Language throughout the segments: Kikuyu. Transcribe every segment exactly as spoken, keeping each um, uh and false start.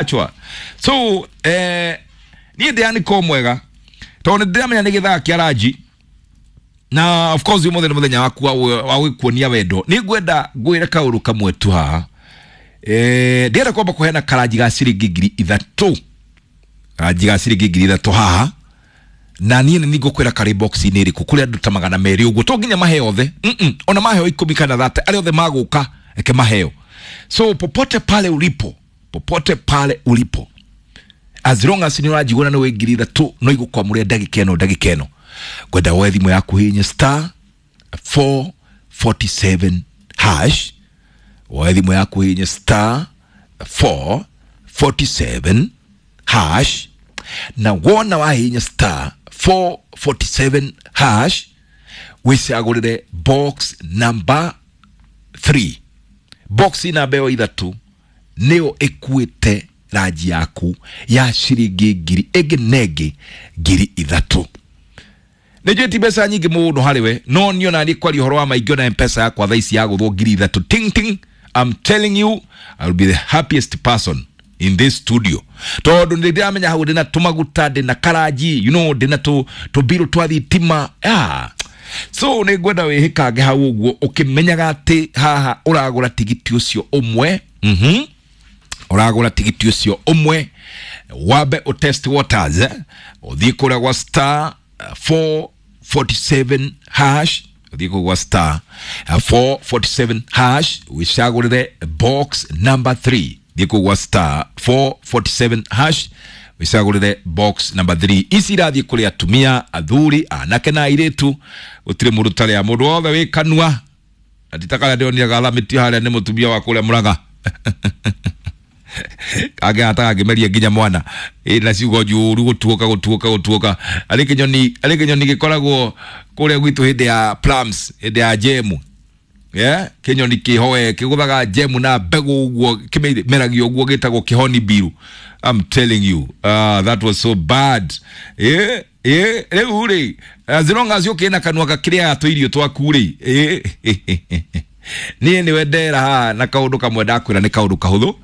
Achwa. So eh niĩ ndĩani ko mwega tondũ nĩ ndĩramenya nĩ gĩthaa kĩa ranji na of course ũmũthĩ nĩ mũthenya waku wa wa gwĩkuonia wendo. Nĩ ngwenda ngwĩre kaũndũ kamwe tu haha. Eh ndĩrenda kwamba kũheana karanji ga ciringi ngiri ithatũ, karanji ga ciringi ngiri ithatũ haha, na niĩ nĩ ngũkwĩra karĩ box-inĩ ĩrĩkũ kũrĩ andũ ta magana merĩ ũguo, to nginya maheo othe. mm -mm. Ona maheo ikũmi kana thate, arĩa othe magũka eke maheo. So popote pale ulipo, popote pale ulipo, as long as nĩ ũranjigua na nĩ wĩ ngiri ithatũ no igũkwamũrĩra ndagĩka ĩno ndagĩka ĩno, ngwenda woe thimũ yaku hihinye star four forty-seven hash, woe thimũ yaku hihinye star four forty-seven hash, na wona wahihinya star four forty-seven hash wĩcagũrĩre box number three. Box namba ĩyo ithatũ nĩyo ĩkuĩte ranji yaku ya ciringi ngiri ĩngĩ na ĩngĩ ngiri ithatũ. Nĩ njũĩ ti mbeca nyingĩ mũno harĩ we, no niĩ ona niĩ kwaria ũhoro wa maingĩ ona M-Pesa yakwa thaa ici yagũthwo ngiri ithatũ ting ting, I'm telling you I'll be the happiest person in this studio, tondũ nĩ ndĩramenya hau ndĩna tũmaguta, ndĩna karanji, you know, ndĩna tũ tũmbirũ twa thitima. Ah. So nĩ ngwenda wĩhĩkange hau ũguo ũkĩmenyaga atĩ haha ũragũra tigiti ũcio ũmwe. Mhm. Ũragũra tigiti ũcio ũmwe wambe ũtest waters, eh? Ũthiĩ kũrĩa gwa star four forty-seven hash, ũthiĩ kũu gwa star four forty-seven hash wĩcagũrĩre box number three. Thiĩ kũu gwa star four forty-seven hash wĩcagũrĩre box number three. Ici irathiĩ kũrĩ atumia, athuri, anake na airĩtu, gũtirĩ mũndũ ũtarĩa, mũndũ wothe wĩ kanua. Na ti ta karĩa ndĩronire gathamĩtio harĩa nĩ mũtumia wa kũrĩa Mũrang'a kangĩ hata kangĩmeria nginya mwana ĩ na ciugo njũru, gũtuũka gũtuũka gũtuũka. Arĩ kĩnyoni, arĩ kĩnyoni gĩkoragwo kũrĩa gwitũ hĩndĩ ya plums, hĩndĩ ya jemu, yeah? Kĩnyoni kĩhoe kĩgũthaga jemu na mbegũ ũguo, kĩmeragia ũguo, gĩtagwo kĩhoni biru. I'm telling you, uh, that was so bad. Eh, eh, rĩu rĩ, as long as ũkĩna kanua gakĩrĩaga tũirio twaku rĩ, eh, niĩ nĩwe ndera haha na kaũndũ kamwe ndakwĩra nĩ kaũndũ kahũthũ.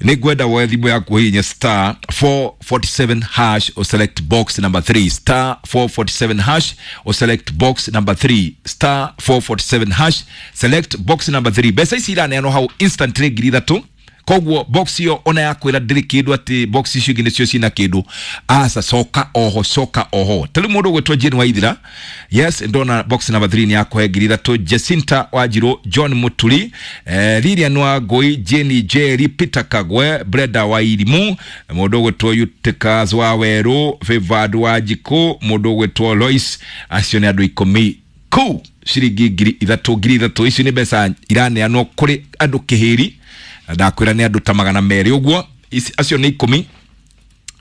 Nĩ ngwenda woe thimũ yaku hihinye star four forty-seven hash o select box number three, star four forty-seven hash o select box number three, star four forty-seven hash select box number three. Mbeca ici iraneanwo hau instantly ngiri ithatũ, koguo box iyo ona yakwĩra ndĩrĩ kĩndũ atĩ box icio ingĩ nĩcio cina kĩndũ, aca, coka oho, coka oho. Ta rĩu mũndũ ũgwĩtwo Jane Waithira, yes, ndona box number three nĩ yakũhe ngiri ithatũ. Jacinta Wanjirũ, John Muturi, eh, Lilian Wangũi, Jane Jerry, Peter Kagwe, Brenda Wairimu, mũndũ ũgwĩtwo Utikas wa Werũ, Favored Wanjikũ, mũndũ ũgwĩtwo Lois, acio nĩ andũ ikũmi kũu ciringi ngiri ithatũ ngiri ithatũ. Icio nĩ mbeca iraneanwo kũrĩ andũ kĩhĩri, ndakwĩra nĩ andũ ta magana merĩ ũguo, acio nĩ ikũmi,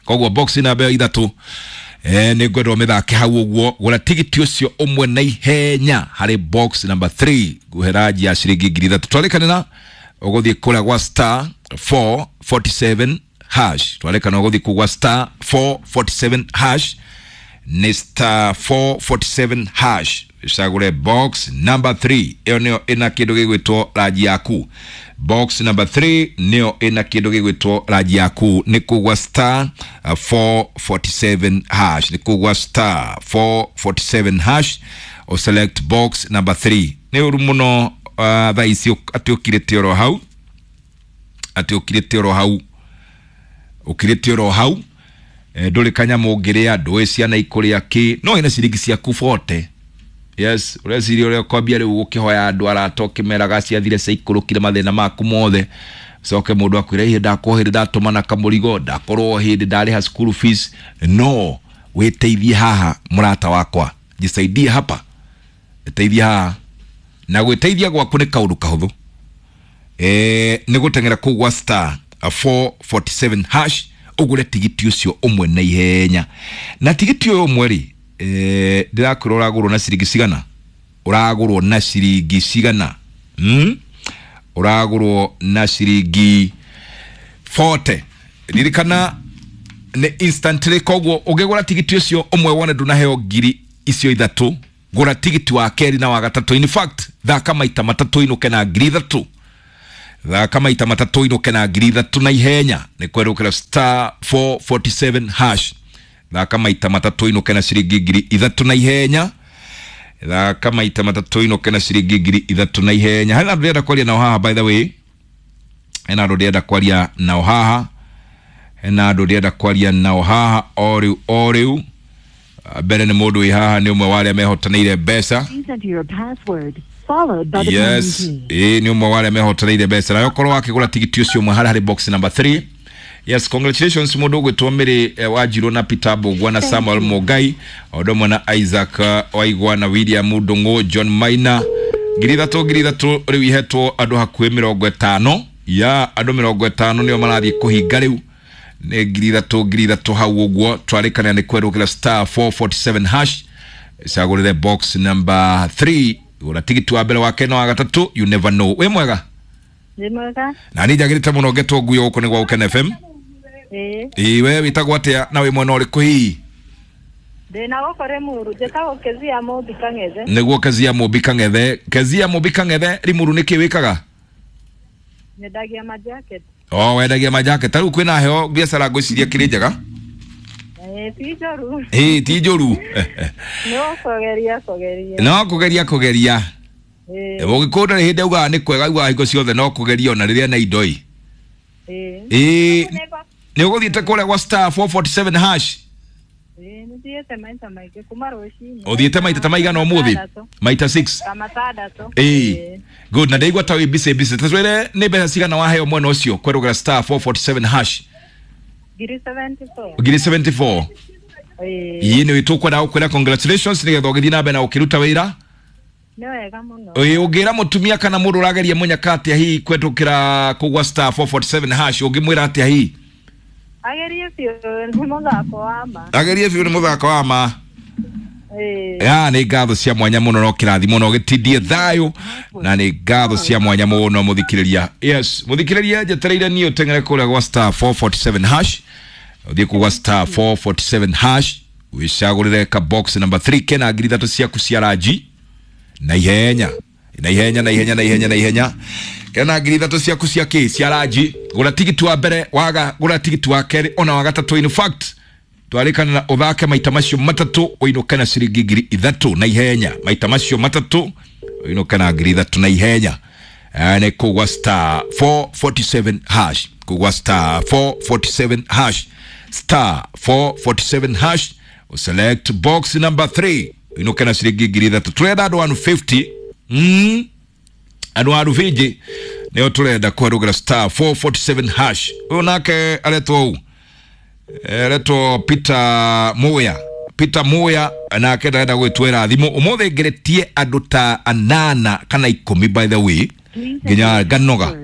koguo box namba ĩyo ithatũ eh, nĩ ngwenda ũmĩthake hau ũguo. Gũra tigiti ũcio ũmwe na ihenya harĩ box number three, ngũhe ranji ya ciringi ngiri ithatũ. Twarĩkanĩra ũgũthiĩ kũrĩa gwa star four forty-seven hash, twarĩkana ũgũthiĩ kũu gwa star four forty-seven hash, nĩ star four forty-seven hash icagũre box number three. Ĩyo nĩyo ĩna kĩndũ gĩgwĩtwo ranji yaku. Box number three nĩyo ĩna kĩndũ gĩgwĩtwo ranji yaku, nĩ kũu gwa star four forty-seven hash, nĩ kũu gwa star four forty-seven hash o select box number three. Nĩ ũru mũno uh, thaa ici atĩ ũkirĩte oro hau, atĩ ũkirĩte oro hau, ũkirĩte oro hau, ndũrĩ kanyamũ ũngĩrĩa, ndũĩ ciana ikũrĩa kĩ, no ĩna ciringi ciaku forty. Yes, ũreciria ũrĩa ũkwambia rĩu ũkĩhoya andũ arata ũkĩmeraga ciathire ciaikũrũkire mathĩna maku mothe, coke mũndũ akwĩra ihe ndakorwo hĩndĩ ndatũmana kamũrigo, ndakorwo hĩndĩ ndarĩha school fees. No wĩteithie haha mũrata wakwa, jisaidie hapa, teithie haha. Na gwĩteithia gwaku nĩ kaũndũ kahũthũ, eh, nĩ gũteng'era kũu gwa star four forty-seven hash ũgũre tigiti ũcio ũmwe na ihenya. Na tigiti ũyũ ũmwe rĩ, eh, ndĩrakwĩra ũragũrwo na ciringi cigana, ũragũrwo na ciringi cigana, mm? Ũragũrwo na ciringi forty. Ririkana nĩ instantly, koguo ũngĩgũra tigiti ũcio ũmwe wone ndũnaheo ngiri icio ithatũ, gũra tigiti wa kerĩ na wa gatatũ. In fact, thaka maita matatũ inũke na ngiri ithatũ. Thaka maita matatũ inũke na ngiri ithatũ na ihenya. Nĩ kwerũkĩra star four forty-seven hash. Thaka maita matatũ inũke na ciringi ngiri ithatũ na ihenya. Thaka maita matatũ inũke na ciringi ngiri ithatũ na ihenya. Hena andũ ndĩrenda kwaria nao haha, by the way. Hena andũ ndĩrenda kwaria nao haha. Hena andũ ndĩrenda kwaria nao haha o rĩu o rĩu. Mbere nĩ mũndũ wĩ haha, nĩ ũmwe wa arĩa mehotanĩire mbeca. Please enter your password followed by the Yes, pound key. ĩĩ nĩ ũmwe wa arĩa mehotanĩire mbeca. Nawe ũkorwo wakĩgũra tigiti ũcio ũmwe harĩa harĩ box number three. Yes, congratulations mũndũ ũgwĩtwo Mary eh, Wanjirũ na Peter Mbũgua na Samuel Mũngai, o ũndũ ũmwe na Isaac eh, Waigwa na William Ndũng'ũ, John Maina. Ngiri ithatũ ngiri ithatũ rĩu ihetwo andũ hakuhĩ mĩrongo ĩtano. Ya andũ mĩrongo ĩtano nĩo marathiĩ kũhinga rĩu. Nĩ ngiri ithatũ ngiri ithatũ hau ũguo. Twarĩkanĩra nĩ kwerũkĩra star four forty-seven hash. Cagũrĩre box number three. Gũra tigiti wa mbere, wa kerĩ na wa gatatũ, you never know. Wĩ mwega? Nĩ mwega. Na niĩ njagĩrĩte mũno ngetwo nguo gũkũ nĩ gwa Gũkena F M. Ĩĩ. Ĩĩ, we wĩtagwo atĩa na wĩ mwena ũrĩkũ hihi? Ndĩna gũkũ Limuru, njĩtagwo Kezia Mũmbi Kang'ethe. Nĩguo Kezia Mũmbi Kang'ethe. Kezia Mũmbi Kang'ethe, Limuru nĩkĩ wĩkaga? Nyendagia majacket. O, wendagia majacket. Ta rĩu kwĩna heho, biacara ngwĩciria kĩrĩ njega? Ĩĩ, ti njũru. Ĩĩ, ti njũru. No kũgeria kũgeria. No kũgeria kũgeria. Ĩĩ. Mũgĩkũyũ ndarĩ hĩndĩ augaga nĩ kwega, augaga hingo ciothe no kũgeria ona rĩrĩa na indo ĩ. Ĩĩ. Ĩĩ, nĩ ũgũthiĩte kũrĩa gwa star four forty-seven hash? Ĩĩ, nĩthiĩte maita maingĩ kuma rũcinĩ. Ũthiĩte maita ta maigana ũmũthĩ? Matandatũ. Maita six. Ta matandatũ. Ĩĩ. Good, na ndaigua ta wĩ busy busy. Ta twĩre nĩ mbeca cigana waheo mwena ũcio kwerũgĩra star four forty-seven hash? Ngiri seventy-four. Ngiri seventy-four. Ĩĩ. Ĩĩ, nĩ tũkwenda gũkwĩra congratulations nĩgetha ũgĩthiĩ na mbere na ũkĩruta wĩra. Nĩ wega mũno. Ĩĩ, ũngĩra mũtumia kana mũndũ ũrageria mũnyaka atĩa hihi kũhetũkĩra kũgwa star four forty-seven hash, ũngĩmwĩra atĩa hihi? Agerie biũ, nĩ mũthako wa ma. Agerie biũ, nĩ mũthako wa ma. Ĩĩ. Ya, nĩ ngatho cia mwanya mũno no kĩrathimo no gĩtindie thayũ, na nĩ ngatho cia mwanya mũno mũthikĩrĩria. Yes, mũthikĩrĩria njetereire niĩ ũteng'ere kũrĩa gwa star four forty-seven hash. Ũthiĩ kũgwa star four forty-seven hash, wĩcagũrĩre ka box number three kena ngiri ithatũ ciaku cia ranji. Na ihenya, na ihenya, na ihenya, na ihenya, na ihenya. Kena ngiri ithatũ ciaku cia kĩ? Cia ranji. Gũra tigiti wa mbere, waga, gũra tigiti wa kerĩ, ona wa gatatũ. In fact, twarĩkana na ũthake maita macio matatũ ũinũke na ciringi ngiri ithatũ na ihenya. Maita macio matatũ ũinũke na ngiri ithatũ na ihenya. Eh, nĩ kũgwa star four forty-seven hash. Kũgwa star four forty-seven hash. Star four forty-seven hash. Select box number three. Ũinũke na ciringi ngiri ithatũ. Tũrenda andũ one fifty. Mm. Andũ a Rufiji nĩo tũrenda kwerũgĩra star four forty-seven hash. Ũyũ nake aretwo ũũ? Aretwo Peter Muya. Peter Muya nake ndarenda gwĩtwĩra thimũ. Ũmũthĩ ngeretie andũ ta anana kana ikũmi, by the way. Nginya nganoga.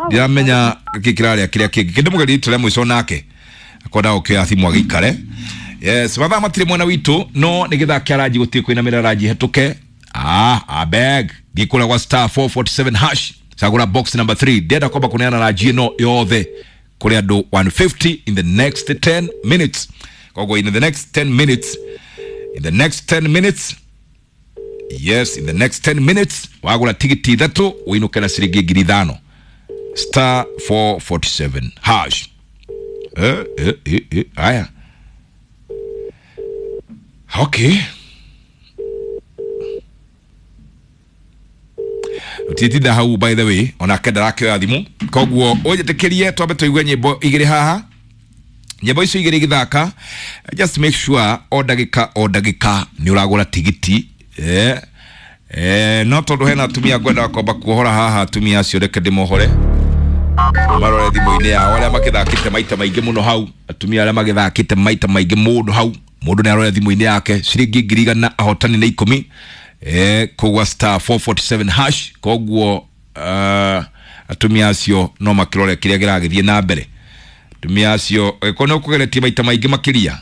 Ndiramenya gĩkĩ kĩrarĩa kĩrĩa kĩngĩ. Kĩndũ mũgerie rita rĩa mũico nake. Akwenda gũkĩoya thimũ agĩikare. Yes, mathaa matirĩ mwena witũ, no nĩ gĩthaa kĩa ranji gũtirĩ kũinamĩrĩra ranji hetũke. Ah, abeg. Thiĩ kũrĩa gwa star four forty-seven hash. Cagũra box number three. Ndĩrenda kwamba kũneana ranji ĩno yothe kũrĩ andũ one fifty in the next ten minutes. Koguo in the next ten minutes, in the next ten minutes, yes, in the next ten minutes, wagũra tigiti ithatũ ũinũke na ciringi ngiri ithano. Star four forty-seven hash. Eh, eh, eh, eh, aya. Okay. Ũtiĩtinda hau, by the way, onake ndarakĩoya thimũ. Koguo ũnjĩtĩkĩrie twambe tũigue nyĩmbo igĩrĩ haha. Nyĩmbo icio igĩrĩ igĩthaka, just make sure o ndagĩka o ndagĩka nĩ ũragũra tigiti. Eh, eh, no tondũ hena atumia ngwenda kwamba kuohora haha, atumia acio reke ndĩmohore. Marore thimũ-inĩ yao arĩa makĩthakĩte maita maingĩ mũno hau, atumia arĩa magĩthakĩte maita maingĩ mũno hau, mũndũ nĩ arore thimũ-inĩ yake ciringi ngiri igana ahotani nĩ ikũmi. Eh, kũgwa star four forty-seven hash. Koguo, uh, atumia acio no makĩrore kĩrĩa kĩragĩthiĩ na mbere. Atumia acio, angĩkorwo nĩ ũkũgeretie maita maingĩ makĩria,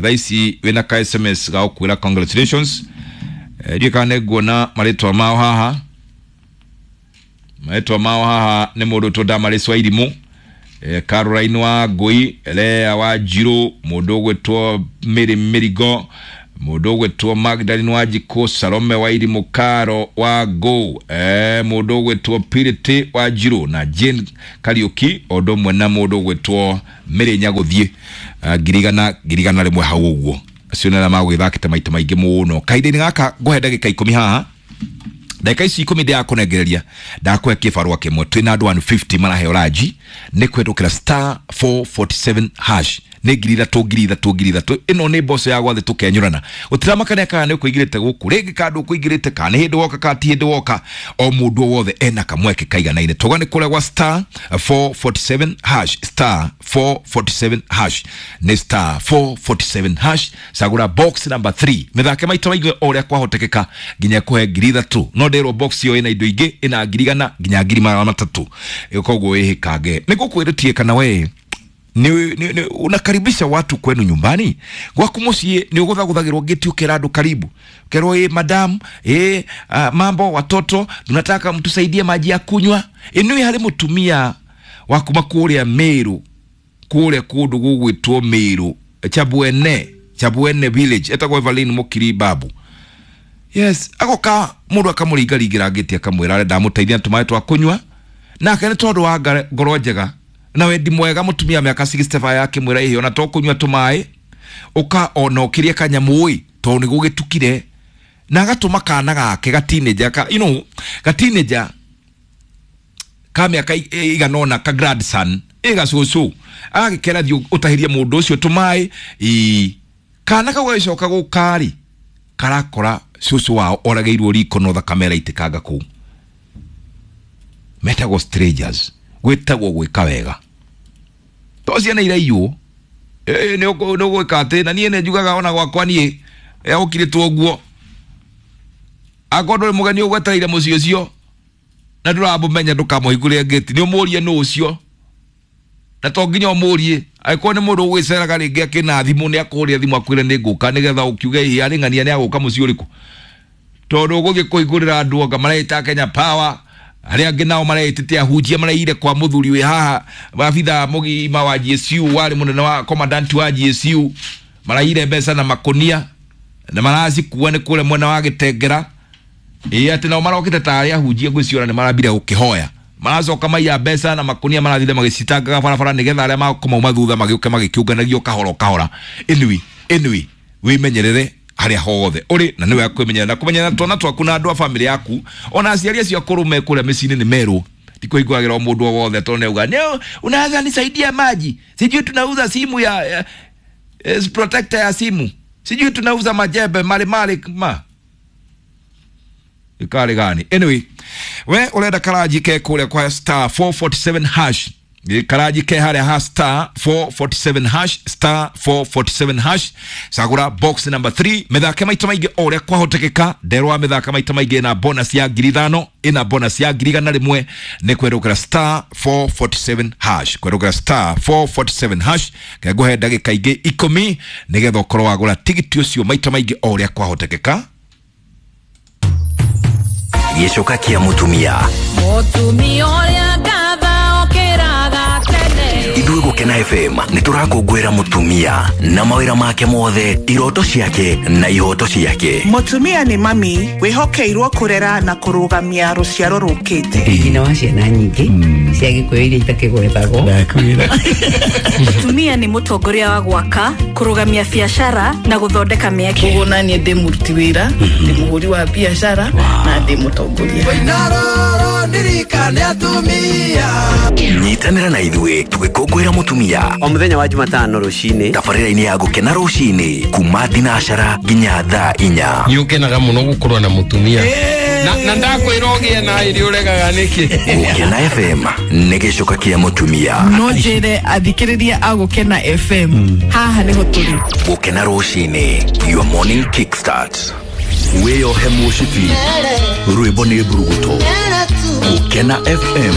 thaa ici wĩna ka S M S ga gũkwĩra congratulations. Eh, ndiũĩ kana nĩ nguona marĩtwa mao haha. Marĩtwa mao haha nĩ mũndũ tũndamarĩ Swairimũ, eh, Caroline wa Ngũi, Lea wa Njirũ, mũndũ ũgwĩtwo Mary Mĩrigo, Mũndũ ũgwĩtwo Magdalene Wanjikũ, Salome wa Irimũ, Karo wa Ngũ, eh, mũndũ ũgwĩtwo Purity wa Njirũ na Jane Kariũki, o ũndũ ũmwe na mũndũ ũgwĩtwo Mary Nyagũthiĩ, uh, ngiri igana ngiri igana rĩmwe hau ũguo. Acio nĩ arĩa magũgĩthakĩte maita maingĩ mũno. Kahinda-inĩ gaka ngũhe ndagĩka ikũmi haha, ndagĩka ici ikũmi ndĩrakũnengereria, ndakũhe kĩbarũa kĩmwe. Twĩna andũ one fifty maraheo ranji nĩ kũhetũkĩra star four forty-seven hash, nĩ ngiri ithatũ ngiri ithatũ ngiri ithatũ. Ĩno nĩ mboco ya gwathĩ tũkenyũrana, gũtiramakania kana nĩ ũkũingĩrĩte gũkũ rĩngĩ kana ndũkũingĩrĩte, kana nĩ hĩndĩ woka kana ti hĩndĩ woka, o mũndũ o wothe ena kamweke kaiganaine. Tauga nĩ kũrĩa gwa star four forty-seven hash, star four forty-seven hash, nĩ star four forty-seven hash, cagũra box number three, mĩthake maita maingĩ o ũrĩa kwahotekeka nginya kũhe ngiri ithatũ. No ndĩrwo box ĩyo ĩna indo ingĩ, ĩna ngiri igana nginya ngiri magana matatũ, koguo wĩhĩkange. Nĩ ngũkwĩrĩtie kana we ni, ni, ni, unakaribisha watu kwenu nyumbani gwaku muciĩ, nĩ ũgũthagũthagĩrwo ngĩti ũkera andũ karibu, ũkerwo ĩ madam ĩ uh, mambo watoto tunataka mtusaidie maji ya kunywa. Ĩnĩ harĩ mũtumia wa kuma kũrĩa Meru, kũrĩa kũndũ gũgwĩtwo Meru Chabwene, Chabwene village, etagwo Evelyn Mukiri Babu. Yes, agoka mũndũ akamũringaringĩra ngĩti akamwĩra arenda amũteithia na tũmaĩ twa kũnyua, nake nĩ tondũ wa ngoro njega na wendi mwega mũtumia mĩaka sixty-five akĩmwĩra ĩhĩ ona to kũnyua tũmaĩ ũka ona ũkĩrie kanyamũ ĩ tondũ nĩ gũgĩtukire, na agatũma kana gake ga teenager ka, you know, ga teenager ka mĩaka igana ũna ka grandson ĩ gacũcũ, agagĩkera thiĩ ũtahĩrie mũndũ ũcio tũmaĩ ĩ kana kau gagĩcoka gũka-rĩ karakora cũcũ wao oragĩirwo riko no thakame ĩraitĩkanga kũu. Metagwo strangers, gwĩtagwo gwĩka wega to ciana iraiywo nĩ ũgwĩka atĩ, na niĩ nĩ njugaga ona gwakwa niĩ gũkirĩtwo ũguo, akorwo ndũrĩ mũgeni ũgwetereire mũciĩ ũcio na ndũramũmenya ndũkamũhingũrĩre ngĩti, nĩ ũmũrie nũ ũcio, na to nginya ũmũrie, angĩkorwo nĩ mũndũ ũgwĩceraga rĩngĩ akĩna thimũ nĩ akũhũrĩre thimũ akwĩre nĩ ngũka, nĩgetha ũkiuge ĩ arĩ ng'ania nĩ agũka mũciĩ ũrĩkũ, tondũ ũgũthiĩ kũhingũrĩra andũ anga mareĩta Kenya Power, arĩa angĩ nao mareĩtĩte ahunjia mareire kwa mũthuri wĩ haha abithaa mũgima wa G S U, warĩ mũnene wa commandant wa G S U, maraire mbeca na makũnia na maracikua nĩ kũrĩa mwena wa Gĩtengera, ĩ atĩ nao marokĩte ta arĩa ahunjia ngwĩciora nĩ marambire gũkĩhoya, maracoka maiya mbeca na makũnia marathire magĩcitangaga barabara nĩgetha arĩa makũmauma thutha magĩũke magĩkĩũnganagio kahora kahora. Anyway, anyway, wĩmenyerere harĩa hothe ũrĩ, na nĩwe kwĩmenyerera na kũmenyerera twana twaku na andũ a famĩlĩ yaku, ona aciari acio akũrũ me kũrĩa mĩciĩ-inĩ nĩ merwo ndikũhingũragĩra o mũndũ o wothe tondũ nĩauga nĩ unaweza nisaidia maji, sijui tunauza simu ya, ya protector ya simu, sijui tunauza majembe mali mali ma ikari gani. Anyway, we ũrenda karaji ke kũrĩa kwa star four forty-seven hash, karaji ke harĩa ha star four forty-seven hash, star four forty-seven hash, cagũra box number three, mĩthake maita maingĩ o ũrĩa kwahotekeka, nderwa mĩthaka maita maingĩ ĩna bonus ya ngiri ithano, ĩna bonus ya ngiri igana rĩmwe, nĩ kwerũkĩra star four forty-seven hash, kwerũkĩra star four forty-seven hash, kengũhe ndagĩka ingĩ ikũmi nĩgetha ũkorwo wagũra tigiti ũcio maita maingĩ o ũrĩa kwahotekeka. Gĩcoka kĩa mũtumia mũtumia ũrĩa ngatha okĩraga tene. Ithuĩ Gũkena F M nĩ tũrakũngũĩra mũtumia na mawĩra make mothe, iroto ciake na ihoto ciake. Mũtumia nĩ mami wĩhokeirwo kũrera na kũrũgamia rũciaro rũkĩte. Nyina wa ciana nyingĩ cia Gĩkũyũ iria itakĩgwetagwo. Mũtumia nĩ mũtongoria wa gwaka, kũrũgamia biacara na gũthondeka mĩeke. Koguo na niĩ ndĩ mũruti wĩra, ndĩ mũhũri wa biacara na ndĩ mũtongoria. Nyitanĩra na ithuĩ tũgĩkũngũĩra mũtumia o mũthenya wa Jumatano rũcinĩ, tabarĩra-inĩ ya Gũkena rũcinĩ kuma thinacara nginya thaa inya. Nĩ ũkenaga mũno gũkorwo na mũtumia na na ndakwĩra ũgĩe na ĩrĩ ũregaga nĩkĩ. Gũkena F M nĩ gĩcoka kĩa mũtumia. No njĩre athikĩrĩria a Gũkena F M haha nĩho tũrĩ. Gũkena rũcinĩ, your morning kickstart. Wĩyohe mũcibi, rwĩmbo nĩ mburuguto. Gũkena F M.